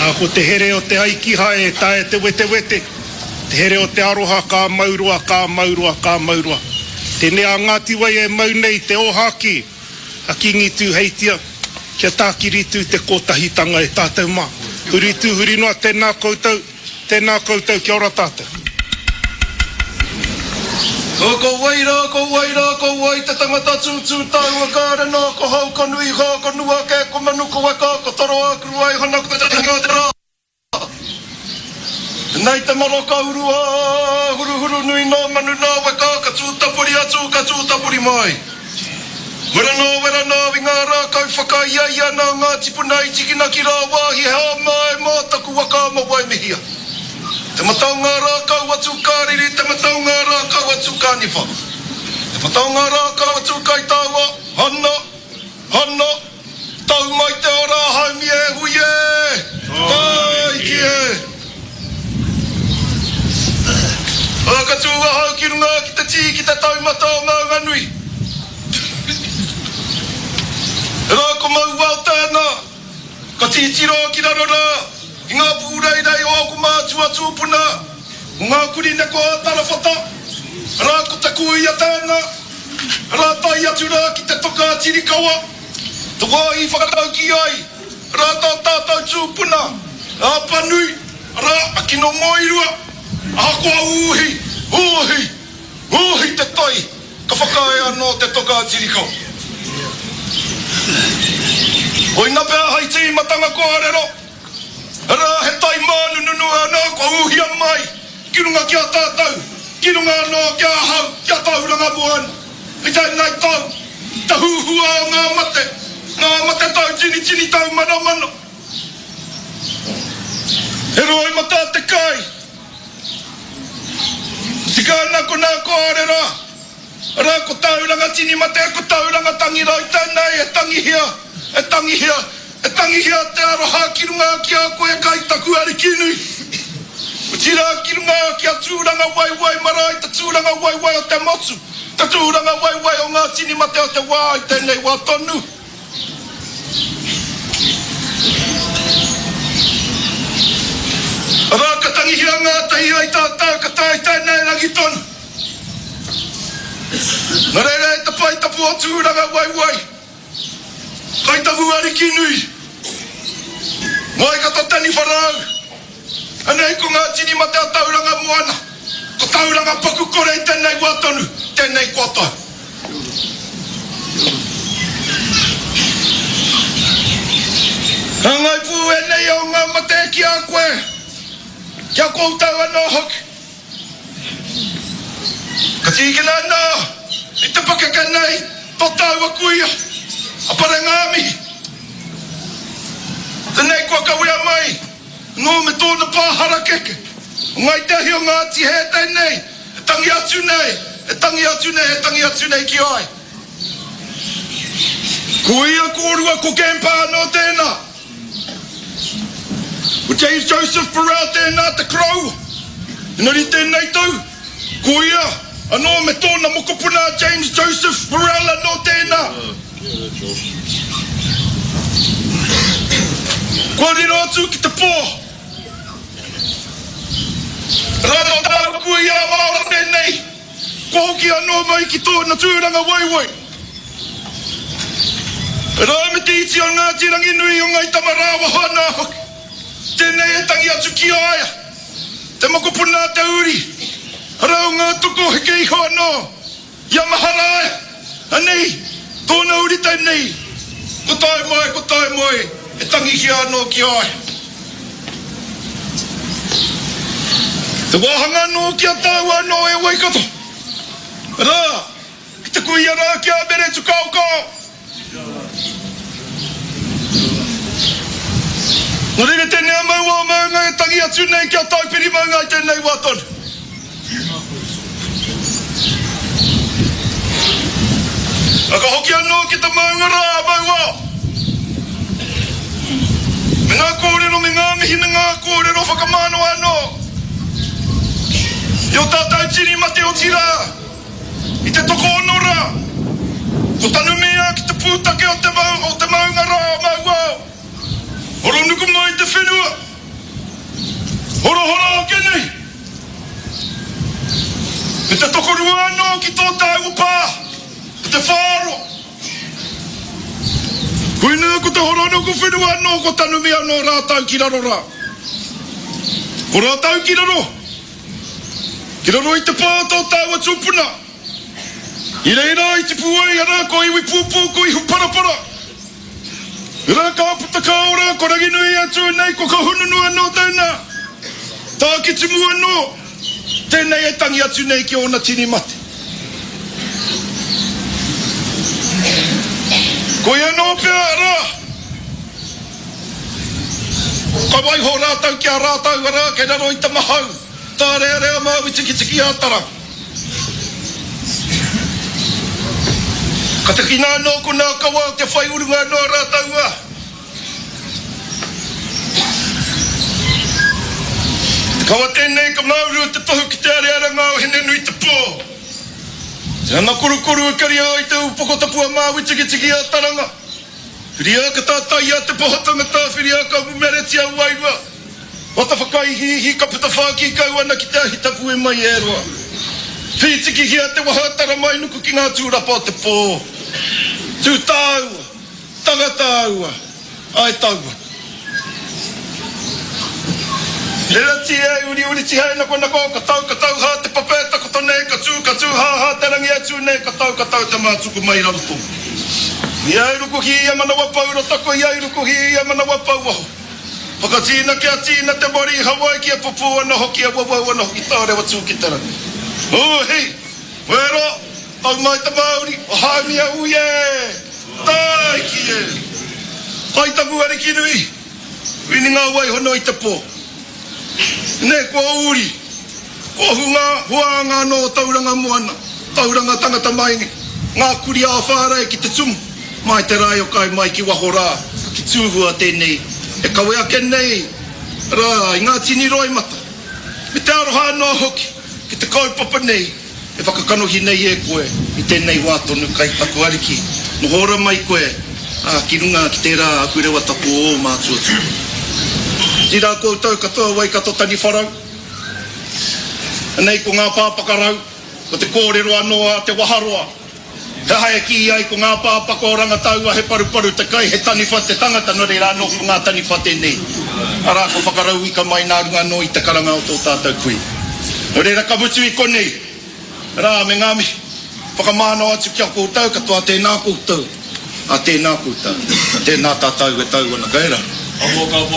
Ā, ko te here o te ai kihai e taea te wetewete, te here o te aroha ka mau roa, ka mau roa, ka mau roa. Tēnei a Ngāti Wai e mau nei te ōhākī a Kīngi Tūheitia kia tākiri tū te kōtahitanga e tātou mā. Huri tū, huri noa, tēnā koutou, tēnā koutou, kia ora tātou. Ko wai rā, ko wai rā, ko wai te tangata tūtū taua kāre nā, ko hau, ko nui hā, ko nua kē, ko manu, ko weka, ko toroa, ko ruaihana, ko te tanga te rā. Nei te maroka urua, huruhuru nui nā manu nā weka, ka tūtapori atu, ka tūtapori mai. Wera nā, wera nā, i ngā rākau whakaiaia nā ngā tipuna i tikina ki rāwāhi he hāmā e mā taku waka ma Waimihia. Te mata o ngā rākau a Tūkāriri, te mata o ngā rākau a Tūkāniwha. Te mata o ngā rākau a Tūkaitaua, hana, hana, tau mai te ora haumi e hui e, tāiki e. Ā, ka tū ahau ki runga ki te tī ki te taumata o Maunganui. Rā ko Mauao tēnā. Ka titiro ki raro rā i ngā pūreirei o ōku mātua tūpuna, o ngā kurī neko a Tarawhata, arā ko te kūia tēnā, arā tae atu rā ki te toka a Tirikawa, te wāhi i whakataukī ai rā tā tātou tūpuna, a Apanui, arā a Kinomoirua, ahakoa ūhi, ūhi, ūhi te tai. Ka whakaae anō te toka a Tirikau. Koina pea hai tīmatanga kōrero, arā he tai mānununu anō kua ūhia mai ki runga ki a tātou, ki runga anō ki ahau, ki a Tauranga Moana. I tēnei tau, te huhua o ngā mate, ngā mate tau tinitini tau manomano. He roimata te kai. Tika ana ko nā kōrero, arā ko Tauranga tini mate, ko Tauranga tangi rau tēnei e tangihia, e tangihia, e tangihia te aroha ki runga ki a koe kai taku Arikinui. Otirā ki runga ki a Tūranga Waiwai marae, te tūranga waiwai o te motu, te tūranga waiwai o ngā tini mate o te wā i tēnei wā tonu. Arā, ka tangihia ngātahi ai tātou, ka tae tēnei rangi tonu. Nā reira e te pae tapu o Tūrangawaewae, Kai Tahu Ariki nui, Waikato Taniwha Rau, Anei ko ngā tini mate a Tauranga Moana, ko Tauranga paku kore i tēnei wā tonu, tēnei kua tau. Hāngai pū ēnei o ngā mate ki a koe, ki a koutou anō hoki. Ka tīkina anō i te pakeke nei tō tāua kuia, a Parengāmihi. Tēnei kua kawea mai anō me tōna pā harakeke, o Ngāi Te Ahi o Ngāti Hē tēnei e tangi atu nei, e tangi atu nei, e tangi atu nei ki a ia. Ko ia kōrua ko Grandpa anō tēnā. Ko James Joseph Burrell tēnā te koroua. Engari tēnei tau, ko ia anō me tōna mokopuna a James Joseph Burrell anō tēnā. Kua riro atu ki te pō. Rā nō tāua kuia a Māora tēnei. Kua hoki anō mai ki tōna tūranga waiwai. Rā me te iti o Ngāti Ranginui o Ngai Tamarāwaho anā hoki. Tēnei e tangi atu ki a ia, te mokopuna a te uri, arā o ngā toko heke iho anō i a Maharaia, anei tōna uri tēnei, ko tae mai, ko tae mai, e tangihia anō ki a ia. Te wāhanga anō ki a tāua anō e Waikato. Arā, ki te kuia rā ki a Mere Tukaokao. Nō reira tēnei a Mauao Maunga e tangi atu nei ki a Taupiri Maunga i tēnei wā tonu. A ka hoki anō ki te maunga rā a Mauao. Me ngā kōrero, me ngā mihi, me ngā kōrero whakamānawa anō i ō tātou tini mate otirā i te tokoono rā, ko tanumia ki te pūtake o te maunga rā a Mauao. Horonuku mai te whenua. Horahora ake nei! Me te tokorua anō ki tō tāua pā, ko te whāroa. Koinā ko te horonuku whenua anō ko tanumi anō rātou ki raro rā. Ko rātou ki raro, ki raro i te pā o tō tāua tūpuna. I reira i tipu ai arā ko Iwipūpū ko Ihuparapara. Rā ka puta ka ora ko Ranginui e tū nei ko Kahungunu anō tēnā. Tākitimu anō tēnei e tangi atu nei ki ōna tini mate. Koia anō pea arā ka waiho rātou ki a rātou arā kei raro i te mahau tārearea Māui Tikitiki a Tara. Ka takina anō ko nā kawa o te whai urunga anō rātou a. Te kawa tēnei ka māuru te tohu ki te arearanga o Hine-nui-te-pō. Te ana korokoro e karia ai te upoko tapu a Māui Tikitiki a Taranga. Whiria ka tātaia te poho tangata, whiria ka umumeretia wairua. Wata whakaihiihi ka puta whākī kau ana ki te ahi tapu e mai e roa. Whītikihia te waha taramainuku ki ngā tūrapa o te pō. Tū tāua, tanga tāua, ae taua. Reratia e uriuri tihei nakonako, ka tau ka tau hā te pape takoto nei, ka tū ka tū hā hā te rangi e tū nei, ka tau ka tau te mātuku mai raro tonu. Ia e rukuhi ia manawa pou rotako, ia i rukuhi ia manawa pou waho. Whakatīna kia tīna te mori i Hawaiki e pupū ana hoki e wawau ana hoki tārewa tū ki te rangi. Hūhi! Wero! Tau mai te mauri o Haumia ui e! Tāiki e! Kai taku ariki nui, wini ngā wai hono i te pō. Nei kua uri, kua hunga huānga anō o Tauranga Moana, Tauranga tangata mai ngā kuri ā-whārei ki te tumu, mai te rae o kai mai ki waho rā, ki Tūhua tēnei e kawe ake nei rā i ngā tini roimata, me te aroha anō hoki ki te kaupapa nei e whakakanohi nei e koe i tēnei wā tonu kai taku ariki, noho ora mai koe, ā, ki runga ki tērā ahurewa tapu o ō mātua tūpuna. Otirā koutou katoa Waikato Taniwharau, anei ko ngā pāpakarau, Ko te kōrero anō a Te Waharoa, he aha e kī ai ko ngā pāpaka o Rangataua he paruparu te kai, he taniwha te tangata, nō reira anō ko ngā taniwha tēnei, arā, ko whakarauika mai nā runga anō i te karanga o tō tātou kui. Nō reira ka mutu i konei, arā, me ngā mihi whakamānawa atu ki a koutou katoa, tēnā koutou, ā, tēnā koutou, tēnā tātou e tau ana, kei raro.